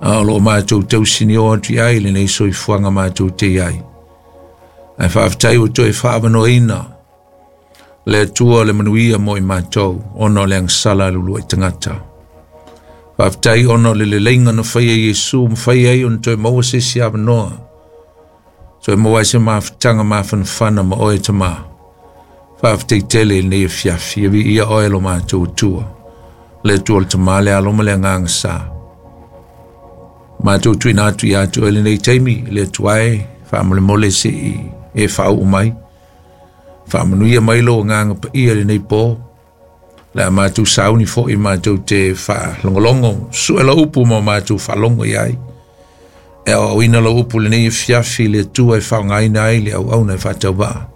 A o loo matou tausinio atu i ai lenei soifuaga matou te i ai. Ae faafetai ua toe faaavanoaina le Atua le manuia mo i matou ona o le agasala a le uluai tagata. Faafetai ona o le leleiga na faia e Iesu ma fai ai ona toe maua se isi avanoa, toe maua ai se mafutaga mafanafana ma oe Tamā. Faafetai tele i lenei afiafi, ia viia oe lo matou Atua, le Atua o le Tamā, le Alo ma le Agaga Sa. Matou tuuina atu ia te oe lenei taimi, le Atua e, faamolemole se i e faauu mai. Faamanuia mai lou Agaga Paia i lenei po. Le a matou sauni foi matou te faalogologo, sue lau upu ma matou faalogo i ai. E aoaoina lau upu lenei afiafi le Atua e faaaogaina ai le auauna e faatauvaa.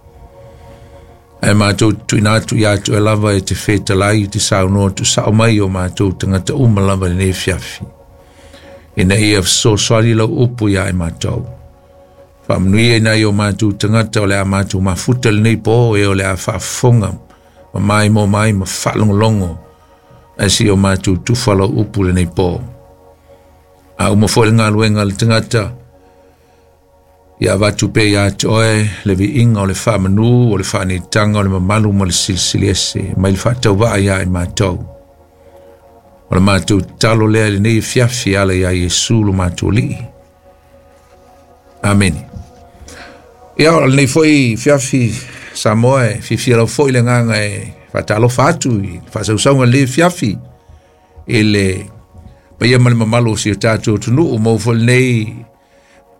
Ae matou tuuina atu ia te oe lava e te fetalai e te saunoa tuusao mai o matou tagata uma lava i lenei afiafi. Ina ia fesoasoani lau upu ia i matou. Faamanuia i nai o matou tagata o le a matou mafuta lenei po e o le a faafofoga ma maimoa mai ma faalogologo ae se i o matou tufa lau upu lenei po. A uma foi le galuega a le tagata, ia avatu pea ia te oe le viiga o le faamanu, o le faaneetaga, o le mamalu ma le silisili ese mai le faatauvaa ia i matou. O le matou tatalo lea i lenei afiafi e ala iā Iesu lo matou Alii. Amene. Ia, o lenei foi fiafi Samoa e fiafia lau foi le agaga e faatalofa atu i faasausauga o lenei fiafi i le paia ma le mamalu o si o tatou atunuu maua foi lenei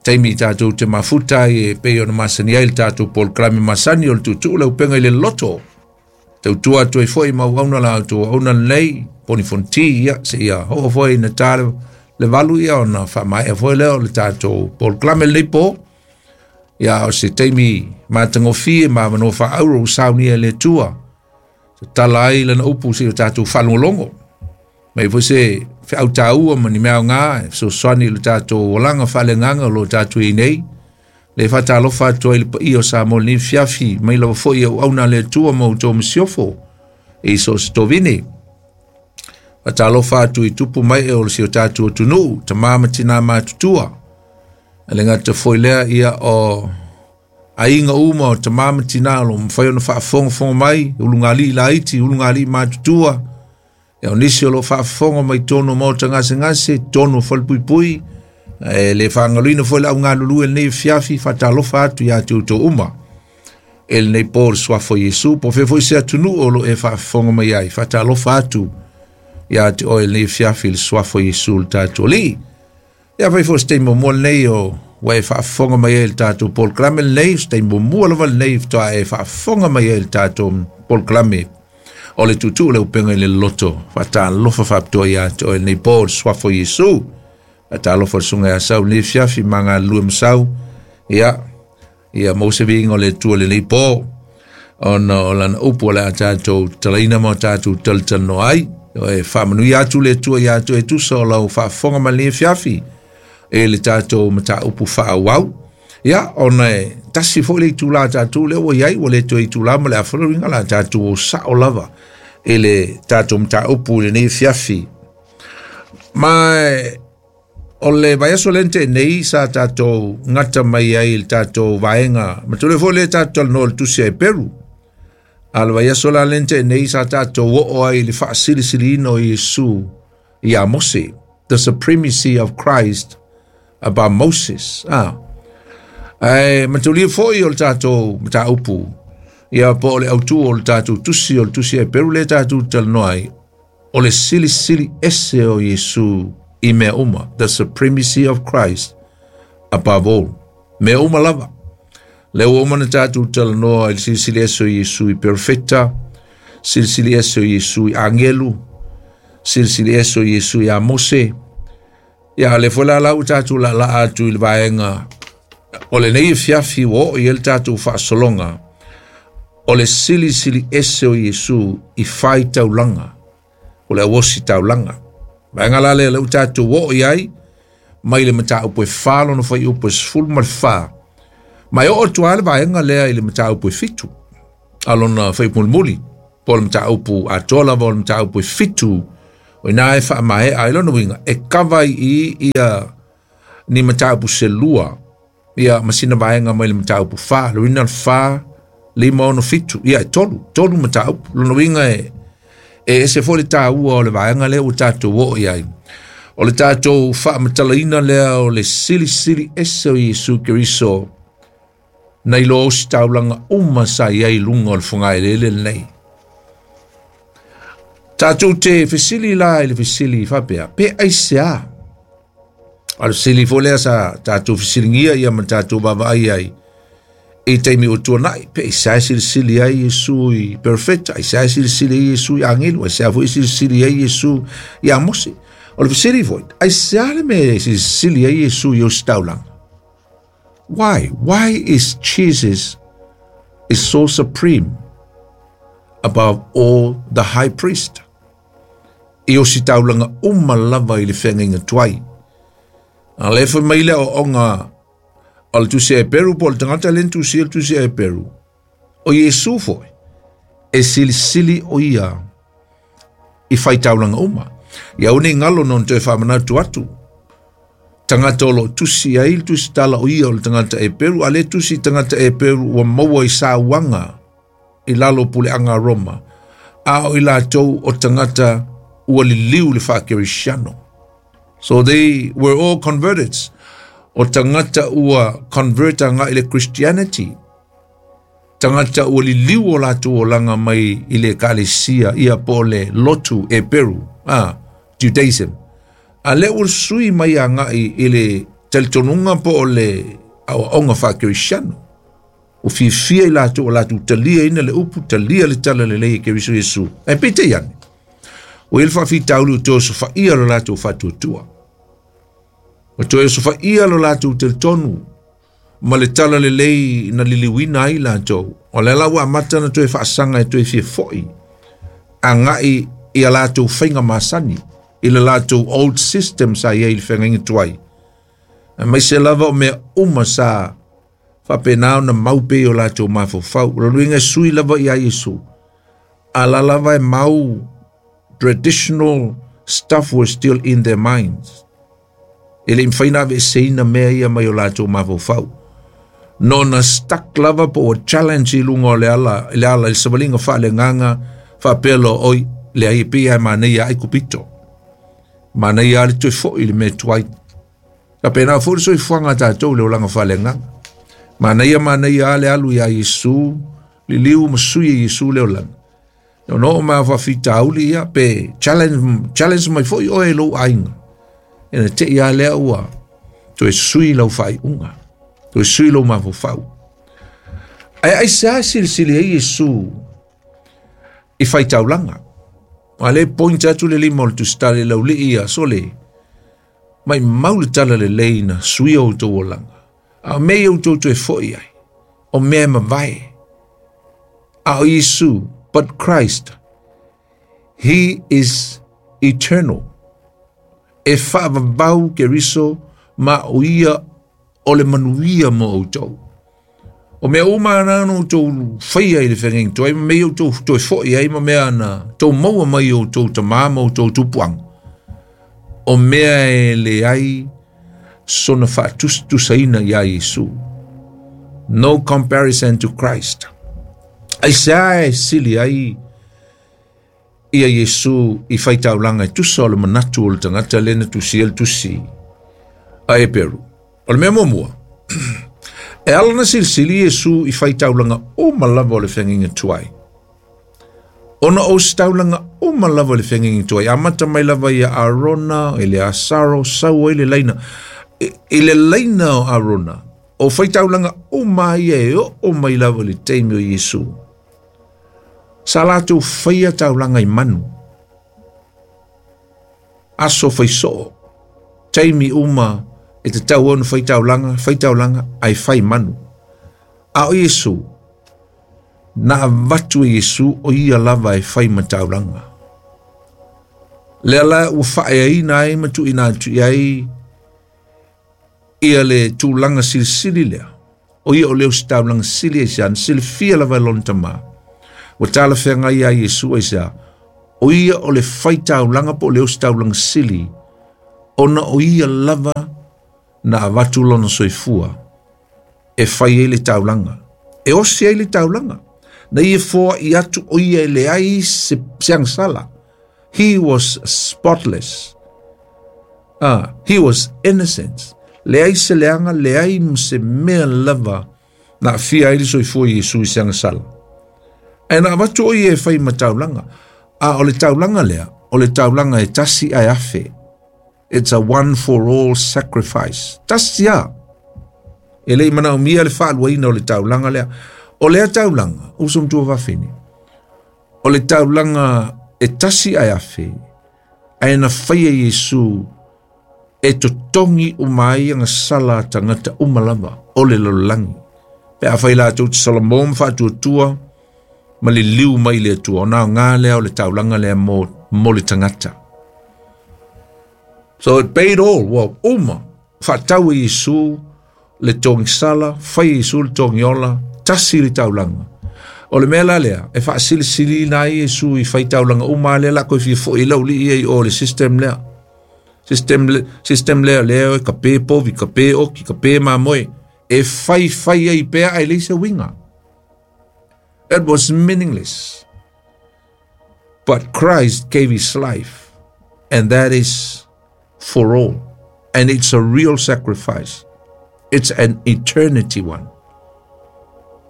taimi tatou te mafuta ai e pei ona masani ai le tatou polokalame masani o le tuutuu le upega i le loto. Tautua atu ai foi ma auauna la outou auauna lenei, poni fonoti, ia, seia oo foi ina ta le 8 ia ona faamaea foi lea o le tatou polokalame lenei po. Ia, o se taimi matagofie ma avanoa faaauro ua saunia e le Atua. Tatala ai lana upu seia o tatou faalogologo. Mai foi se feau taua ma ni mea aoga e fesoasoani i le tatou olaga faaleagaga o lo o tatou i ai nei. Le faatalofa atu ai le paia o Samoa i lenei afiafi, mai lava foi i auauna a le Atua ma outou masiofo i so o se tovine. Faatalofa atu i tupu mai e o si o tatou atunuu, tama ma tina matutua. E le gata foi lea ia o aiga uma o tama ma tina o lo o mafai ona faafogafoga mai, ulugalii laiti, ulugalii matutua, Ia o nisi o lo o faafofoga mai totonu o maota gasegase, totonu o falepuipui, e le faagaloina foi le au galulue i lenei afiafi, faatalofa atu ia te outou uma. E lenei po le suafa o Iesu, po o fea foi se atunuu o lo o e faafofoga mai ai, faatalofa atu ia te oe i lenei afiafi le suafa o Iesu le tatou Alii. Ia fai foi se taimi muamua lenei o ua e faafofoga mai ai i le tatou polokalame lenei, se taimi muamua lava lenei faatoa e faafofoga mai ai i le tatou polokalame o le tuutuu le upega i le loto. Faatalofa faapitoa ia te oe lenei po le suafa o Iesu. Faatalofa le susuga ia Sau lenei afiafi ma galulue ma Sau. Ia, ia maua se viiga o le Atua lenei po ona o lana upu o le a tatou tatalaina ma o tatou talatalanoa ai. E faamanuia atu le Atua ia te oe e tusa o lau faafofoga mai lenei afiafi e le tatou mataupu faaauau. Ia, ona e tasi foi le itula tatou lea ua i ai, ua le toe itula ma le afa le uiga la tatou o sao lava i le tatou mataupu i lenei afiafi. Ma o le vaiaso lea na tea nei sa tatou gata mai ai i le tatou vaega, ma tole foi lea tatou talanoa i le tusi a Heperu. A le vaiaso la lea na tea nei sa tatou oo ai i le faasilisiliina o Iesu iā Mose, the supremacy of Christ above Moses. Ah. Ae mataulia foi o le tatou mataupu, ia po o le autu o le tatou tusi, o le tusi a Heperu lea tatou talanoa ai, o le silisili ese o Iesu i mea uma, the supremacy of Christ above all. Mea uma lava. Lea ua uma ona tatou talanoa i le silisili ese o Iesu i perofeta, silisili ese o Iesu i agelu, silisili ese o Iesu iā Mose. Ia, lea foi la la ua tatou laalaa atu i le vaega o lenei afiafi ua oo i ai le tatou faasologa o le silisili ese o Iesu i fai taulaga, o le auosi taulaga. Vaega la lea lea ua tatou oo i ai mai le mataupu e 4 lona fuaiupu e 14. Ma e oo atu lava le vaega lea i le mataupu e 7 a lona fuaiupu mulimuli, po o le mataupu atoa lava o le mataupu e 7 O ina e faamaea ai lona uiga e kava ai i i ia ni mataupu se lua ia ma sina vaega mai le mataupu 4, le uiga 4, 5, 6, 7, ia e tolu mataupu. Lona uiga e ese foi le taua o le vaega lea ua tatou oo i ai. O le tatou faamatalaina lea o le silisili ese o Iesu Keriso nai lo ositaulaga uma sa i ai i luga o le fogaelele lenei. Tatou te fesili la i le fesili faapea, pe aisea? A le fesili foi lea sa tatou fesiligia ia ma tatou vaavaai ai i taimi o tuanai, pe aisea e silisili ai Iesu i perfeta, aisea e silisili ai Iesu i agelu, aisea foi e silisili ai Iesu ia Mose. O le fesili foi, aisea le mea e silisili ai Iesu i ositaulaga? Why? Why is Jesus is so supreme above all the high priest? I ositaulaga uma lava i le feagaiga tuai. A le fai mai le aoaoga o le tusi a Eperu po o le tagata le na tusia le tusi a Eperu, o Iesu foi e silisili o ia i faitaulaga uma. Ia aua ne i galo na ona toe faamanatu atu, tagata o lo o tusi ai le tusi tala o ia o le tagata Eperu, a le tusi tagata Eperu ua maua i sauaga i lalo o puleaga a Roma, a o i latou o tagata ua liliu le faakerisiano. So they were all converted. O tagata ua convert agai i le Christianity. Tagata ua liliu o latou olaga mai i le ekalesia ia po o le lotu Eperu, Judaism. A lea ua sui mai agai i le talitonuga po o le aoaoga faakerisiano. Ua fiafia i latou o latou taliaina le upu, talia le tala lelei e Keriso Iesu. Ae peitai ane, ua i ai le faafitauli ua toe osofaia lo latou faatuatua. Ua toe osofaia lo latou talitonu ma le tala lelei na liliuina ai latou. O lea la ua amata ona toe faasaga e toe fia foi agai i a latou faiga masani, i le latou old system sa i ai i le feagaiga tuai. Aemaise lava o mea uma sa faapena ona mau pea i o latou mafaufau. O lona uiga e sui lava ia Iesu, a la lava e mau traditional stuff were still in their minds. E le i mafai ona aveeseina mea ia mai o latou mafaufau. Nona stuck lava po ua challenge i luga o le ala, i le ala i le savaliga faaleagaga faapea loa, oi, leai e pei lava e manaia Aikupito. Manaia lava le toe foi i le mea tuai. Faapena foi le soifuaga a tatou i le olaga faaleagaga. Manaia manaia lava le alu iā Iesu, liliu ma sui e Iesu le olaga. Ona oo mai a faafitauli ia, pe challenge, challenge mai foi oe e lou aiga. Ina te i a lea ua toe sui lau faaiuga, toe sui lou mafaufau. Ae aisea e silisili ai Iesu i faitaulaga? A le point atu le lima o le tusitala i laulii ia, sole, Maimau le tala lelei na suia o outou olaga, a o mea ia outou toe foi ai, o mea e mavae. A o Iesu, but Christ, he is eternal. E faavavau Keriso ma o ia o le manuia mo outou. O mea uma ana na outou faia i le feagaiga tuai, ma mea ia outou toe foi ai, ma mea na tou maua mai i outou tamā ma outou tupuaga, o mea e leai sona faatusatusaina iā Iesu. No comparison to Christ. Aisea e sili ai ia Iesu i faitaulaga e tusa o le manatu o le tagata lea na tusia le tusi a Eperu? O le mea muamua, e ala na silisili Iesu i faitaulaga uma lava o le feagaiga tuai. Ona o ositaulaga uma lava o le feagaiga tuai, amata mai lava ia Arona, Eleasaro, sau ai le laina. I le laina o Arona, o faitaulaga uma ia e oo mai lava i le taimi o Iesu. Sa latou faia taulaga i manu, aso faisoo, taimi uma e tatau ona fai taulaga, fai taulaga, ae fai manu. A o Iesu, na avatu e Iesu o ia lava e fai ma taulaga. Lea la ua faaeaina ai ma tuuina atu i ai ia le tulaga silisili lea, o ia o le ositaulaga sili aisea, na silafia lava e lona tamā. Ua talafeagai iā Iesu aisea, O ia o le faitaulaga po o le ositaulaga sili, ona o ia lava na avatu lona soifua e fai ai le taulaga. E osi ai le taulaga. Na ia foai atu o ia e leai se agasala. He was spotless. He was innocent. Leai se leaga, leai ma se mea lava na aafia ai le soifua o Iesu i se agasala. Ae na avatu o ia e fai ma taulaga. A o le taulaga lea, o le taulaga e tasi ae afe. It's a one for all sacrifice. Tasi a. E le i manaomia le faaluaina o le taulaga lea. O lea taulaga, uso ma tuafafine, o le taulaga e tasi ae afe, ae na faia Iesu e totogi uma ai agasala a tagata uma lava o le lalolagi. Pe afai latou te salamo ma faatuatua ma liliu mai i le Atua, ona aoga lea o le taulaga lea mo le tagata. So it paid all, ua uma, faatau e Iesu le togisala, fai e Iesu le togiola, tasi le taulaga. O le mea la lea, e faasilisiliina ai Iesu i faitaulaga uma lea la koe fia fo'i i laulii ai o le system lea. System lea lea e ka pe povi, ka pe oki, ka pe mamoe, e fai fai ai pea ae leai se uiga. It was meaningless. But Christ gave his life, and that is for all. And it's a real sacrifice. It's an eternity one.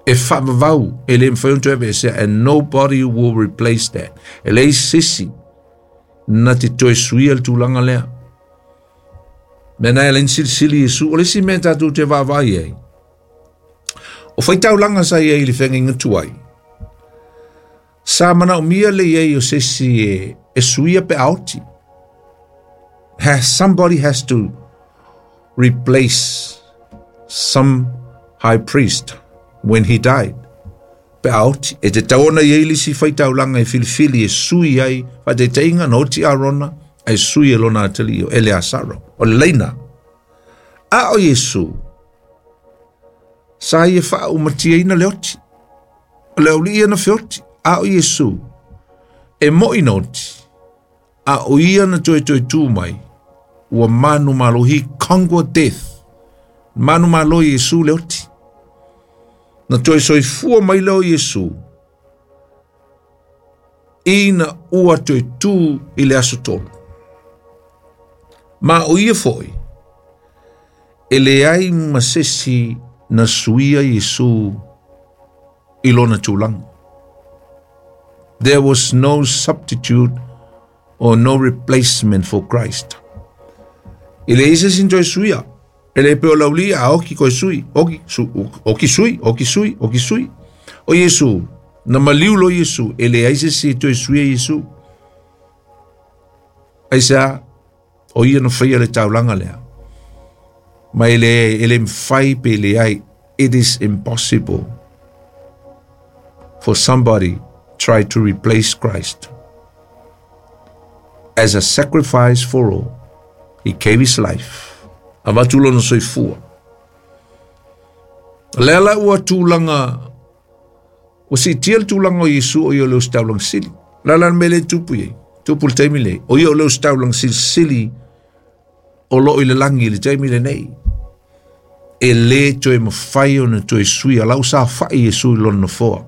E faavavau, e le mafai ona toe aveesea, and nobody will replace that. E leai se isi na te toe suia le tulaga lea. Mea na e ala ai ona silisili Iesu, o le isi mea tatou te vaavaai ai, o faitaulaga sa i ai i le feagaiga tuai, sa manaomia le i ai o se isi e suia pe a oti. Somebody has to replace some high priest when he died. Pe a oti, e tatau ona i ai le isi faitaulaga e filifili e sui ai, faataitaiga na oti Arona, ae sui e lona atalii o Eleasaro, o le laina. A o Iesu, sa ia faaumatiaina le oti, o le aualii ia na feoti, a o Iesu, e moi na oti, a o ia na toe tū mai, ua manumalo, he conquered death. Manumalo Iesu le oti. Na toe soifua mai lea o Iesu, ina ua toe tū i le aso tolu. Ma o ia foi, e leai ma se isi na suia Iesu i lona tulaga. There was no substitute or no replacement for Christ. E leai se isi na toe suia. E le pei o le aualii a oki koe sui, oki, su, oki sui, oki sui, oki sui. O Iesu, na maliu loa Iesu, e leai se isi e toe suia Iesu. Aisea, o ia na faia le taulaga lea. Ma e le mafai pe leai, it is impossible for somebody try to replace Christ. As a sacrifice for all, he gave his life. Avatu lona soifua. Lea la ua tulaga, ua siitia le tulaga o Iesu o ia o le ositaulaga sili. La la le mea lea e tupu i ai, tupu i le taimi lenei, o ia o le ositaulaga silisili o loo i le lagi i le taimi lenei. E le toe mafai ona toe suia, la ua saofai Iesu i lona nofoa.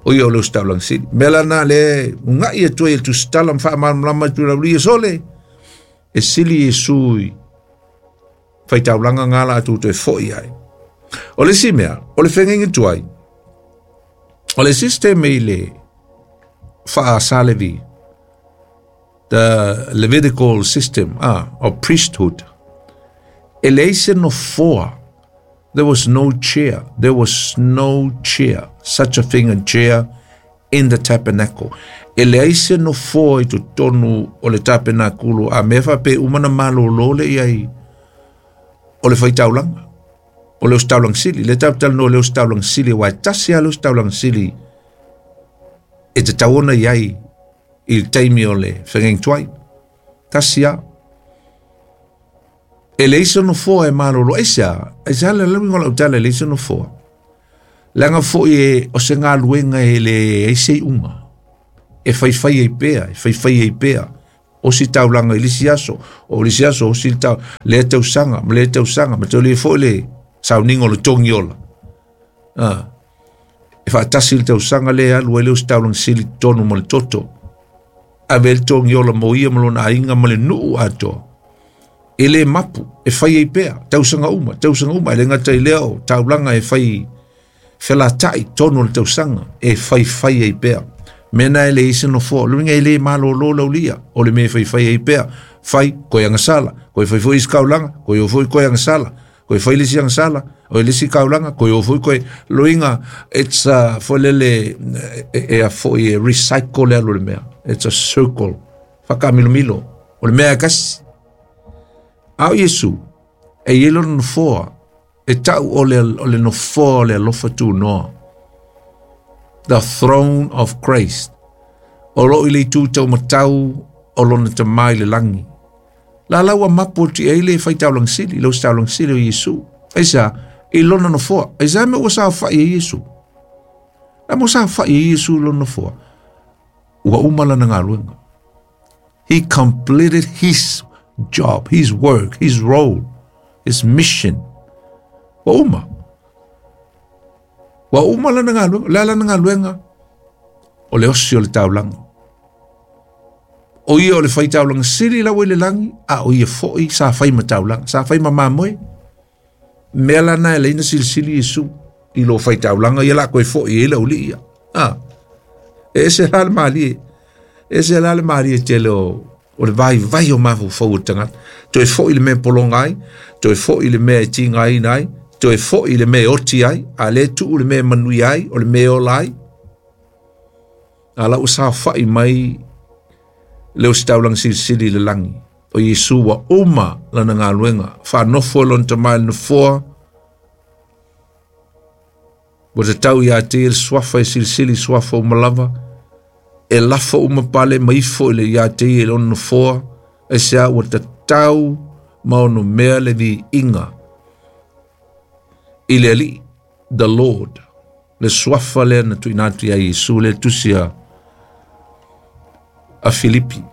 O ia o le ositaulaga sili. Mea la na le uga'i atu ai e le tusitala ma faamalamalama atu i le aualii sole, e sili Iesu i faitaulaga ngā la atu toe fo'i ai. O le isi mea, o le feagaiga tuai, o le system i le faa-Salevi, the Levitical system of priesthood, e leai se nofoa. There was no chair. There was no chair. Such a thing, a chair in the tabernacle. E leai se nofoa i totonu o le tapenakulu, a mea faapea uma na malolo le i ai o le faitaulaga, o le ositaulaga sili. Le tatou talanoa i le ositaulaga sili, aua e tasi lava le ositaulaga sili e tatau ona i ai i le taimi o le feagaiga tuai. Tasi lava. E leai se nofoa e malolo. Aisea? Aisea le uiga o lau tala e leai se nofoa? Leaga foi e o se galuega e leai se iuga. E faifai ai pea, e faifai ai pea. Osi taulaga i le isi aso, o le isi aso osi le tau, lea tausaga, ma lea tausaga, ma toe le foi le sauniga o le togi ola. Ah, e faatasi le tausaga lea e alu ai le ositaulaga sili totonu ma le toto. Ave le togi ola mo ia ma lona aiga ma le nuu atoa. E le mapu, e fai ai pea, tausaga uma, tausaga uma, e le gata i lea o taulaga e fai felata'i tonu o le tausaga, e faifai ai pea. Mea na e leai se nofoa, o le uiga e le malōlō laulia, o le mea e faifai ai pea, fai, koe agasala, koe fai foi isi kaulaga, koe o foi koe agasala, koe fai le isi agasala, o le isi kaulaga, koe o foi koe, loiga, it's a, foi lele, e a foi e recycle le alu o le mea, it's a circle, whakaamilomilo, o le mea e kasi. A o Iesu, e i ai lona nofoa, e tau o le nofoa o le alofa tunoa. The throne of Christ. O loo i le itu taumatau o lona Tamā i le lagi. La la ua mapu atu i ai le faitaulaga sili, le ositaulaga sili o Iesu. Aisea? I lona nofoa. Aisea mea ua saofai ai Iesu? La mo saofai ai Iesu i lona nofoa? Ua uma lana galuega. He completed his job, his work, his role, his mission. Ua uma. Ua uma lana galuega. Le a lana galuega? O le osi o le taulaga. O ia o le faitaulaga sili lau i le lagi, a o ia foi sa fai ma taulaga, sa fai ma mamoe. Mea lana e leina silisili Iesu i lo faitaulaga ia la koe foi e lau li ia. Ah. E ese la le malie. E ese la le malie tele o o le vaivai o mafaufau o le tagata. Toe foi i le mea e pologa ai, toe foi i le mea e tigaina ai, toe foi i le mea e oti ai, a le tuu le mea e manuia ai, o le mea e ola ai. A la ua saofai mai le ositaulaga silisili i le lagi. O Iesu ua uma lana galuega, faanofo e lona Tama i le nofoa, Ua tatau ia te ia le suafa e silisili suafa uma lava, e lafo uma pale ma ifo i le ia te ia i lona nofoa, aisea ua tatau ma onomea le viiga i le Alii, the Lord, le suafa lea na tuuina atu ia Iesu, le tusi a Filipi.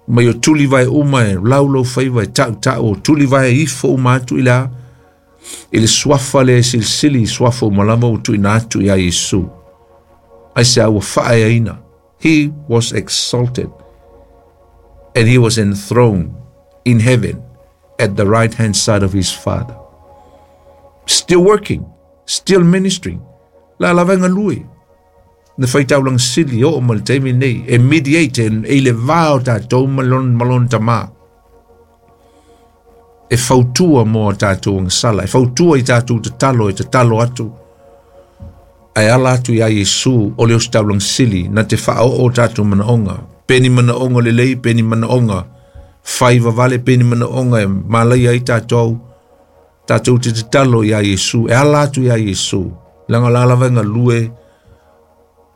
Mai o tulivae uma e laulau faiva e tautau o tulivae ifo uma atu i le a i le suafa lea e silisili i suafa uma lava ua tuuina atu iā Iesu. Aisea ua faaeaina. He was exalted and he was enthroned in heaven at the right hand side of his Father. Still working, still ministering. La lava e galue. Na faitaulaga sili oo ma le taimi nei e mediate e i le va o tatou ma lona Tamā. E fautua mo a tatou agasala, e fautua i tatou tatalo, e tatalo atu, ae ala atu iā Iesu o le ositaulaga sili na te faaoo o tatou manaoga, pe ni manaoga lelei, pe ni manaoga fai vavale, pe ni manaoga e malaia ai tatou, tatou te tatalo iā Iesu, e ala atu iā Iesu, leaga o la lava e galue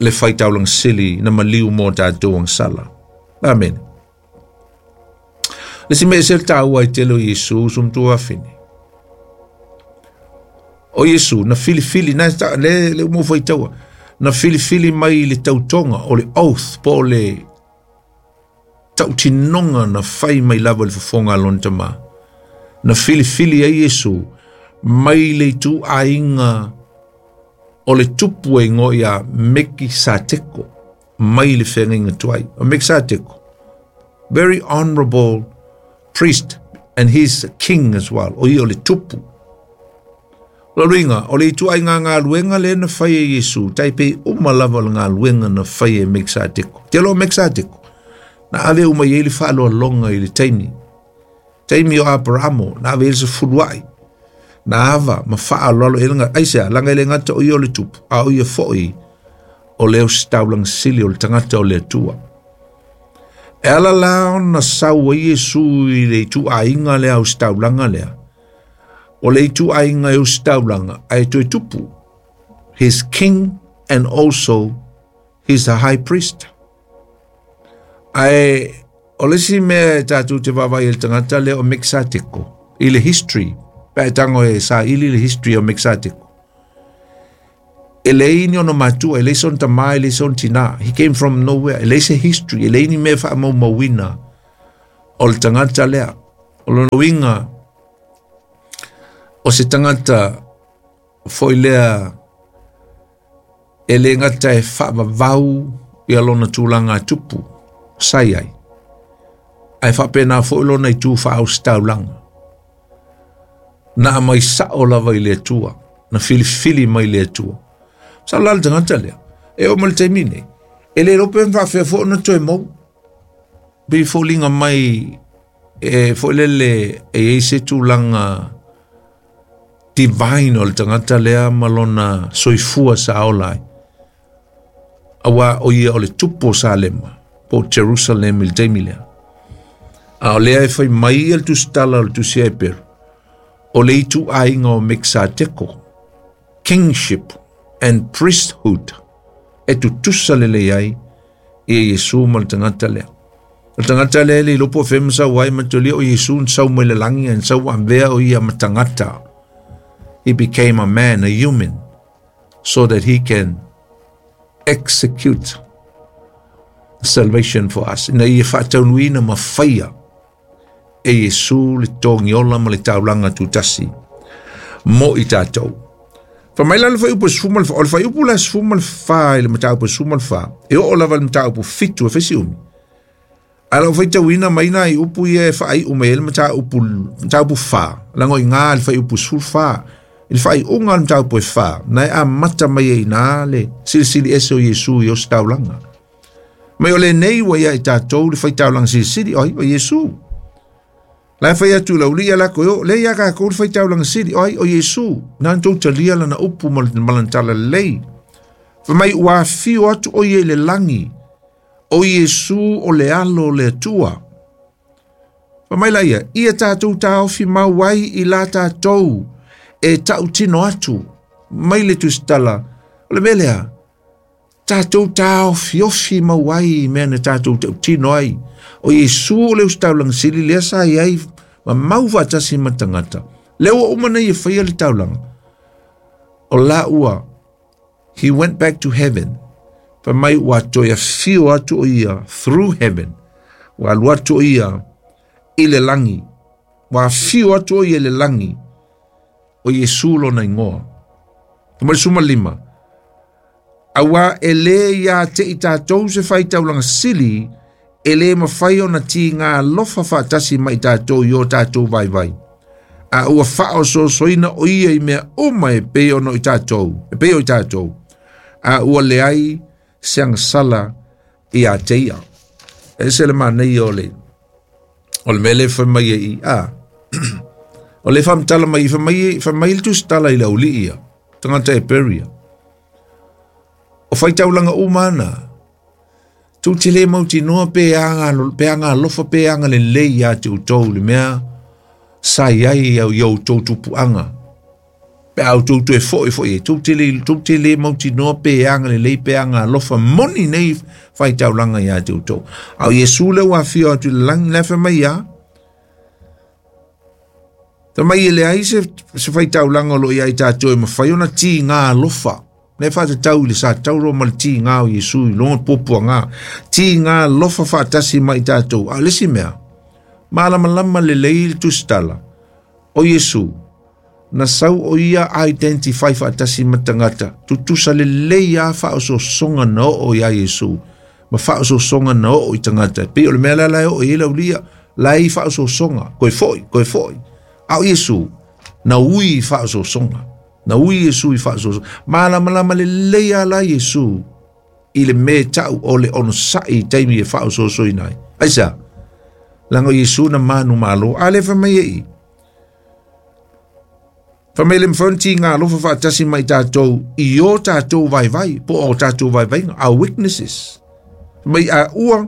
le faitaulaga sili na maliu mo tatou agasala. Amene. Le isi mea e ese le taua ai tele o Iesu uso ma tuafafine. O Iesu na filifili na le le mo faitaua na filifili mai i le tautoga o le oath po o le tautinoga na fai mai lava i le fofoga a lona Tamā. Na filifili ai Iesu mai le ituaiga o le tupu e igoa ia Mekisateko mai le feagaiga tuai. O Mekisateko, very honorable priest and he's a king as well. O ia o le tupu. O le uiga, o le ituaiga galuega lea na fai e Iesu, tai pei uma lava o le galuega na fai e Mekisateko. Te aloa o Mekisateko, na ave uma i ai le faaaloaloga i le taimi. Taimi o Aperamo, na ave i ai le sefuluai. Na ava ma faaaloalo i ai le Aisea, laga e le gata o ia o le tupu, a o ia foi o le ositaulaga sili o le tagata o le Atua. E ala la ona sau ai Iesu i le ituaiga lea ositaulaga lea, o le ituaiga e ositaulaga ae toe tupu. He's king and also he's a high priest. Ae o le isi mea e tatou te vaavaai ai i le tagata lea o Mekisateko i le history, pe a e tago e saili le history o Mekisateko. E leai ni ona matua, e leai sona tamā, e leai sona tinā. He came from nowhere. E leai se history, e leai ni mea faamaumauina o le tagata lea. O lona uiga, o se tagata foi lea e le gata e faavavau ia lona tulaga tupu sa i ai, ae faapena foi lona itu faaositaulaga. Na aumai sao lava i le Atua, na filifili mai le Atua. Sa la le tagata lea, e oo mai le taimi nei, e le iloa pe faafefea foi ona toe maua. Pei foliga mai e foi lele e i ai se tulaga divine o le tagata lea ma lona soifua sa ola ai. Auā o ia o le tupu o Salema, po o Jerusalem i le taimi lea. A o lea e fai mai ia le tusitala o le tusi a Eperu, o le ituaiga o Mekisateko, kingship and priesthood, e tutusa lelei ai ia Iesu ma le tagata lea. O le tagata lea e le iloa po o fea ma sau ai, manatua o Iesu na sau mai le lagi, na sau avea o ia ma tagata. He became a man, a human, so that he can execute salvation for us. Ina ia faataunuina ma faia e Iesu le togiola ma le taulaga tutasi mo i tatou. Fa mai la le fuaiupu 14, o le fuaiupu la 14 i le mataupu 14, e oo lava i le mataupu 7 e fai si umi. Ae o lau faitauina mai nai upu ia e faaiu mai ai le mataupu, mataupu 4, leaga o i ina le fuaiupu 14, i le faaiuga o le mataupu e 4, na e amata mai ai i ina le silisili ese o Iesu i ositaulaga. Mai o lenei ua ia i tatou le faitaulaga silisili, o ai, o Iesu. La e fai atu lau lii a lako e o, lea ia kākou le faitaulaga sili, o ai, o Iesu. Na na tou talia lana upu ma lana talalelei. Fai mai ua afio atu o ia i le lagi, o Iesu o le alo o le Atua. Fai mai la ia, ia tatou taofi mau ai i la tatou e tautino atu mai le tusitala. O le mea lea, tatou taofiofi mau ai i mea na tatou tautino ai. O Iesu o le ositaulaga sili lea sa i ai ma mau faatasi ma tagata. Lea ua uma nei e faia le taulaga. O la ua He went back to heaven. Fai mai ua toe afio atu o ia through heaven. Ua alu atu o ia i le lagi. Ua afio atu o ia i le lagi. O Iesu lona igoa. Fai mai le 15. Auā e lē ia te i tatou se faitaulaga sili e lē mafai ona tigā alofa faatasi ma i tatou i o tatou vaivai. A ua faaosoosoina o ia i mea uma e pei ona o i tatou, e pei o i tatou, a ua leai se agasala ia te ia. E ese le manaia o le o le mea lea e fai mai ai i a o le faamatala mai fai mai fai mai le tusitala i le aualii ia tagata e Peria. O faitaulaga uma ana tou te le mautinoa pe aga pe aga alofa pe aga lelei ia te outou le mea sa i ai i outou tupuaga. Pe a outou toe foi foi ai, tou te le, tou te le mautinoa pe aga lelei pe aga alofa moni nei faitaulaga ia te outou. A o Iesu lea ua afio atu i le lagi, la e fai mai ia, Fai mai e leai se, se faitaulaga o lo o ia i tatou e mafai ona tigā alofa. Lea e faatatau i le sa tauro ma le tigā o Iesu i lona puapuaga. Tigā alofa faatasi ma i tatou. A o le isi mea, malamalama lelei le tusitala o Iesu, na sau o ia identify faatasi ma tagata, tutusa lelei lava faaosoosoga na oo iā Iesu ma faaosoosoga na oo i tagata. E pei o le mea lea la e oo i ai le aulia, la e i faaosoosoga, koe foi, koe foi. A o Iesu, na ui i faaosoosoga. Na ui Iesu i faaosoosoga. Malamalama lelei lava la Iesu i le mea e tau o le onosai i taimi e faaosoosoina ai. Aisea? Leaga o Iesu na manumalo. A lea fai mai e i. Fai mai le mafai ona tigā alofa faatasi ma i tatou i o tatou vaivai, po o tatou vaivaiga, our weaknesses. Fai mai a ua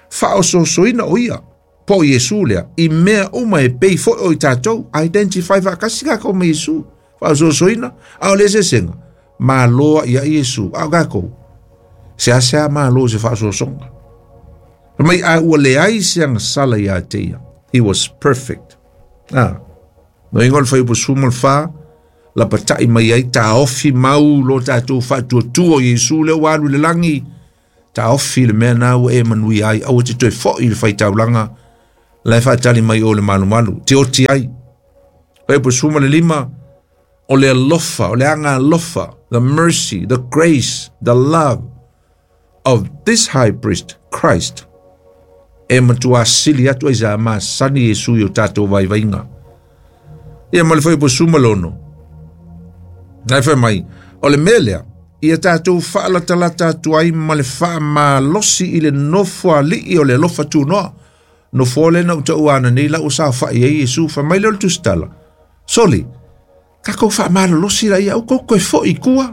faaosoosoina o ia, po o Iesu lea, i mea uma e pei foi o i tatou, identify faatasi kākou ma Iesu, faaosoosoina, a o le eseesega, malo ai ia Iesu, a o kākou, seasea malo i se faaosoosoga. Fai mai a ua leai se agasala ia te ia. He was perfect. Ah. No ingoa le fuaiupu 14, Lapata'i mai ai taofi mau lo tatou faatuatua o Iesu lea ua alu i le lagi. Taofi le mea na ua e manuia ai, aua te toe fo'i i le faitaulaga la e faatali mai o le malumalu te oti ai. Fuaiupu 15, o le alofa, o le aga alofa, the mercy, the grace, the love of this high priest, Christ, e matua sili atu ai sa masani Iesu i o tatou vaivaiga. Ia ma le fuaiupu 16, nai fai mai, o le mea lea, ia tatou faalatalata atu ai ma le faamalosi i le nofo ali'i o le alofa tunoa. Nofo le na uta ua nei lau saofa'i ai Iesu, fai mai lea o le tusitala. Soli, tatou faamalolosi la ia au kou koe fo'i i tua.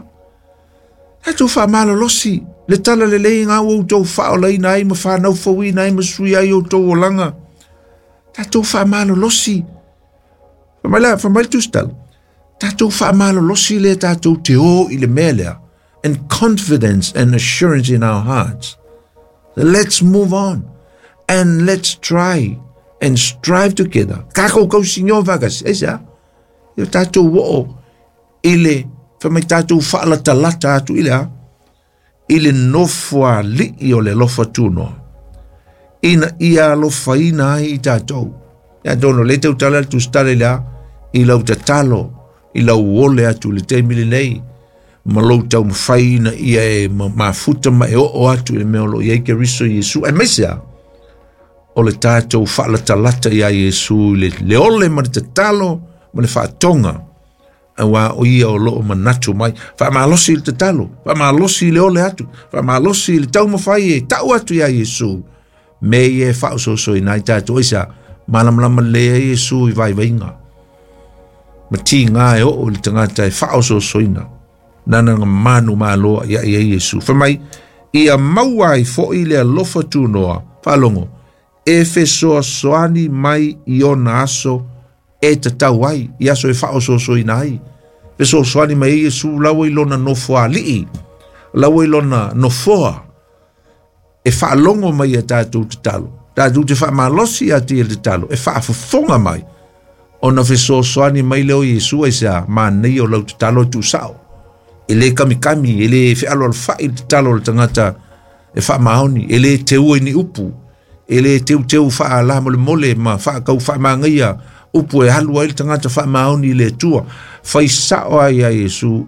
Tatou faamalolosi, le tala lelei ngā ua outou faaolaina ai ma whānaufauina ai ma sui ai outou olaga. Tatou faamalolosi. Fai mai la, fai mai le tusitala. Tatou faamalolosi le tatou te o i le mea lea. And confidence and assurance in our hearts. Let's move on and let's try and strive together. Kākou kausigo whakasi. Ai sea? Ia tatou o'o i le fai mai tatou faalatalata atu i le a i le nofo ali'i o le alofa tunoa. Ina ia alofaina ai i tatou. Ia atonu le tautala le tusitala i le a i lau tatalo, i lau ole atu i le taimi lenei, ma lou taumafai ina ia e mafuta ma e oo atu i le mea o lo o i ai Keriso Iesu. Aemaise a o le tatou faalatalata iā Iesu i le ole ma le tatalo ma le faatoga, auā o ia o loo manatu mai. Faamalosi i le tatalo, faamalosi i le ole atu, faamalosi i le taumafai e tau atu iā Iesu me ia e faaososoina ai tatou. Aisea? Malamalama lelei ai Iesu i vaivaiga ma tigā e oo i le tagata e faaososoina nana na manu maloa ia i ai Iesu. Fai mai, ia maua ai fo'i le alofa tunoa, faalogo, e fesoasoani mai i ona aso e tatau ai, i aso e faaososoina ai. Fesoasoani mai ai Iesu laua i lona nofo ali'i, laua i lona nofoa, e faalogo mai ia tatou tatalo. Tatou te faamalosi ia te i le tatalo, e faafofoga mai, ona fesoasoani mai lea o Iesu aisea, manaia o lau tatalo e tuusao. E le kamikami, e le fealoalofa'i le tatalo o le tagata e faamaoni, e le teua i ni upu, e le teuteu faalamolemole ma faakau faamagaia upu e alu ai le tagata faamaoni i le Atua. Fai sao ai ia Iesu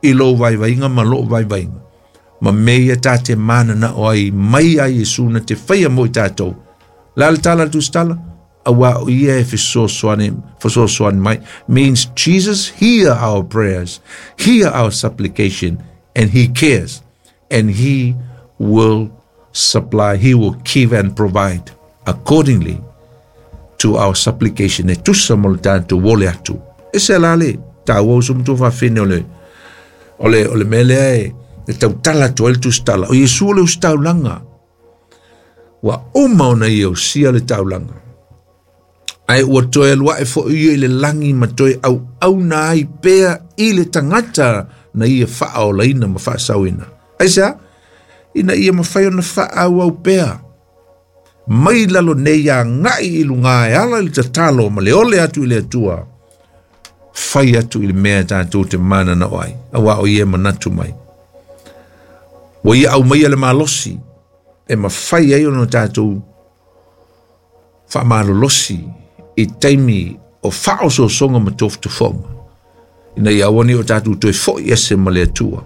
i lou vaivaiga ma lou vaivaiga. Ma mea ia ta te mananao ai mai ia Iesu na te faia mo i tatou. La le tala le tusitala, auā o ia e fesoasoani, fesoasoani mai, means Jesus hear our prayers, hear our supplication, and he cares, and he will supply, he will give and provide accordingly to our supplication. E tusa mo le tatou ole atu. E se la le tāua uso matua faafine o le o le o le mea lea e e tautala atu ai le tusitala. O Iesu o le ositaulaga. Ua uma ona ia osia le taulaga. Ae ua toe alu ae fo'i ia i le lagi ma toe auauna ai pea i le tagata na ia faaolaina ma faasauina. Aisea? Ina ia mafai ona faaauau pea mai lalo nei agai i luga e ala i le tatalo ma le ole atu i le Atua, fai atu i le mea e tatou te mananao ai, auā o ia e manatu mai. Ua ia aumaia le malosi e mafai ai ona tatou faamalolosi i taimi o faaosoosoga ma tofotofoga, ina ia aua ne i o tatou toe fo'i ese ma le Atua.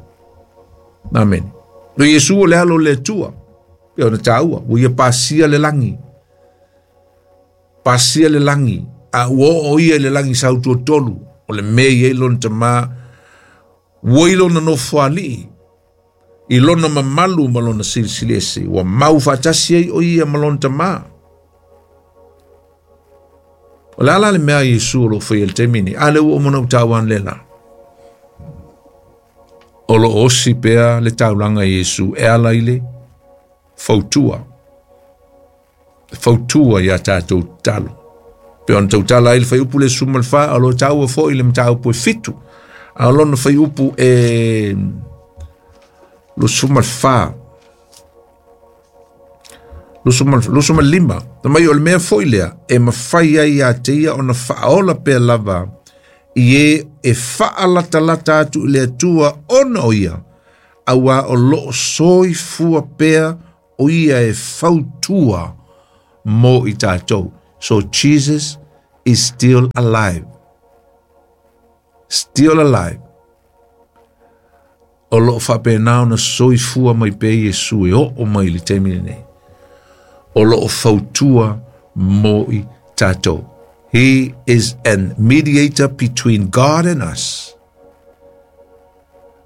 Amene. O Iesu o le alo o le Atua, pei ona taua, ua ia pasia le lagi, pasia le lagi, a ua oo ia i le lagi sautuatolu, o le mea i ai lona tamā, ua i lona nofoalii, i lona mamalu ma lona silisili ese, ua mau faatasi ai o ia ma lona tamā. O le a la le mea a Iesu o lo o faia i le taimi nei? A lea ua uma ona ou taua analeila. O lo o osi pea le taulaga i Iesu e ala i le fautua. Fautua iā tatou tatalo. Pei ona tautala ai le fuaiupu le 14, o lo o taua foi le mataupu e 7, a o lona fuaiupu e 24, 25, na mai o le mea foi lea e mafai ai ia te ia ona faaola pea lava I e e faalatalata atu i le Atua ona o ia, auā o lo o soifua pea o ia e fautua mo i tatou. So Jesus is still alive. Still alive. O lo o faapena ona soifua mai pea Iesu e oo mai i le taimi lenei. O lo o fautua mo i tatou. He is an mediator between God and us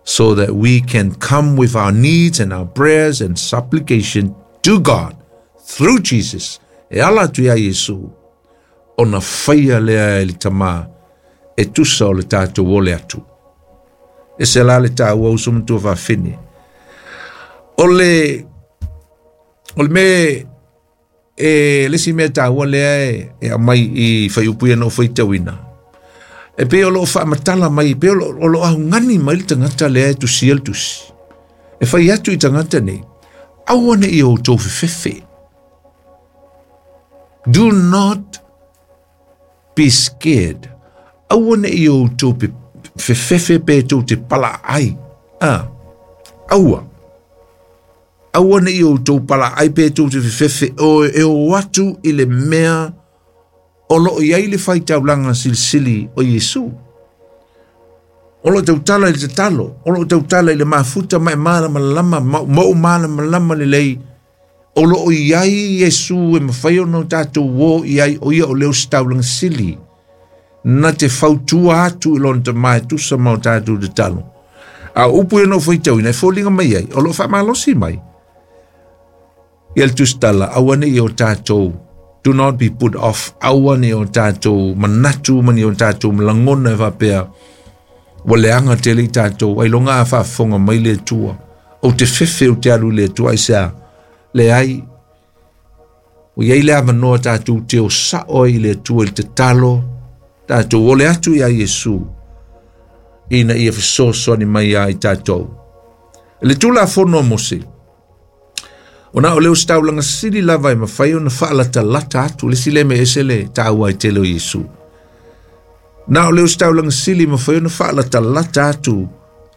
so that we can come with our needs and our prayers and supplication to God through Jesus. E ala atu iā Iesu, ona faia lea e le Tama e tusa o le tatou ole atu. E se la le tāua uso matua faafine. O le, o le me e le isi mea taua lea e, e aumai i fuaiupu ia na ou faitauina, e pei o lo o faamatala mai, e pei o lo, o lo augani mai le tagata lea e tusia le tusi. E fai atu i tagata nei, aua ne i outou fefefe. Do not be scared. Aua ne i outou fefefe pe tou te palaai. Ah, aua. Aua ne i outou palaai pe tou te fefefe o e o atu i le mea o lo o i ai le faitaulaga silisili o Iesu. O lo o tautala i le tatalo, o lo o tautala i le mafuta ma e malamalama, ma ou malamalama lelei, o lo o i ai Iesu e mafai ona o tatou o i ai, o ia o le ositaulaga sili, na te fautua atu i lona tama e tusa ma o tatou tatalo. A o upu ia na ou faitauina e foliga mai ai, o lo o faamalosi mai. Ia le tusitala, aua ne i o tatou, do not be put off, aua ne i o tatou manatu ma ni o tatou lagona e faapea, ua leaga tele i tatou, ailoga a faafofoga mai le Atua, ou te fefe ou te alu i le Atua, aisea? Leai, ua i ai le avanoa tatou te o sao ai i le Atua i le tatalo, tatou ole atu iā Iesu, ina ia fesoasoani mai iā i tatou. I le Tulafono a Mose, o na o le ositaulaga sili lava e mafai ona faalatalata atu, le isi lea mea ese le taua ai tele o Iesu. Na o le ositaulaga sili e mafai ona faalatalata atu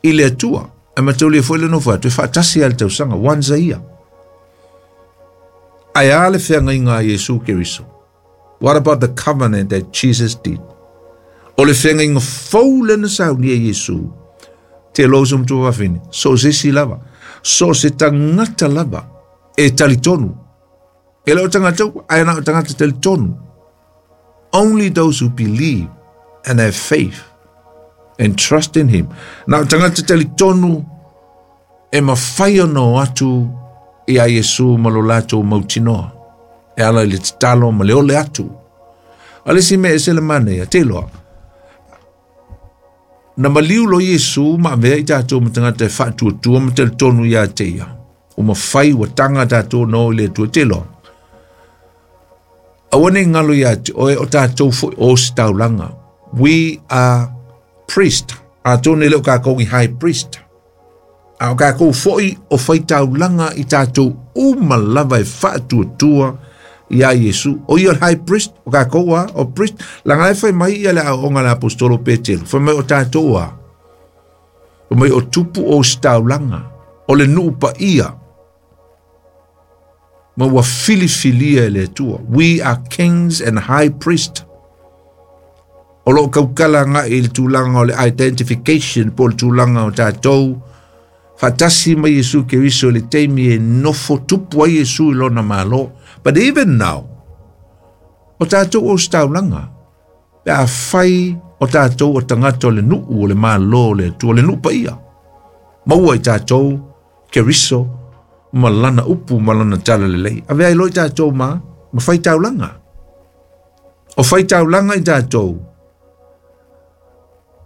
i le Atua. Ae mataulia foi le nofo atu e faatasi lava i le tausaga, once a year. Ae a le feagaiga a Iesu Keriso? What about the covenant that Jesus did? O le feagaiga fou lea na saunia e Iesu, te loa uso matua fafine, so o se isi lava, so o se tagata lava e talitonu. E le o tagata uma, ae na o tagata talitonu. Only those who believe and have faith and trust in him. Na o tagata talitonu e mafai ona o atu i a Iesu ma lo latou mautinoa, e ala i le tatalo ma le ole atu. A le isi mea ese le manaia, te iloa, na maliu loa Iesu ma avea i tatou ma tagata e faatuatua ma talitonu ia te ia. Ua mafai, ua taga tatou ona o i le Atua, te iloa. Aua ne i ngalo ia te oe o tatou foi o ositaulaga. We are priest. Atonu e le o kakou i high priest. A o kakou foi o faitaulaga i tatou uma lava e faatuatua iā Iesu. O ia o le high priest, o kakou a, o priest. Leaga la e fai mai ia le aoaoga a le aposetolo o Petelu, fai mai o tatou a, fai mai o tupu o ositaulaga, o le nuu paia, ma ua filifilia e le Atua. We are kings and high priest. O lo o kaukala agai i le tulaga o le identification po o le tulaga o tatou faatasi ma Iesu Keriso i le taimi e nofo tupu ai Iesu i lona Malo. But even now, o tatou ositaulaga, pe afai o tatou o tagata o le nuu o le Malo o le Atua, o le nuu paia, maua i tatou Keriso ma lana upu ma lana talalelei. Avea ai loa i tatou ma, ma faitaulaga. O faitaulaga i tatou,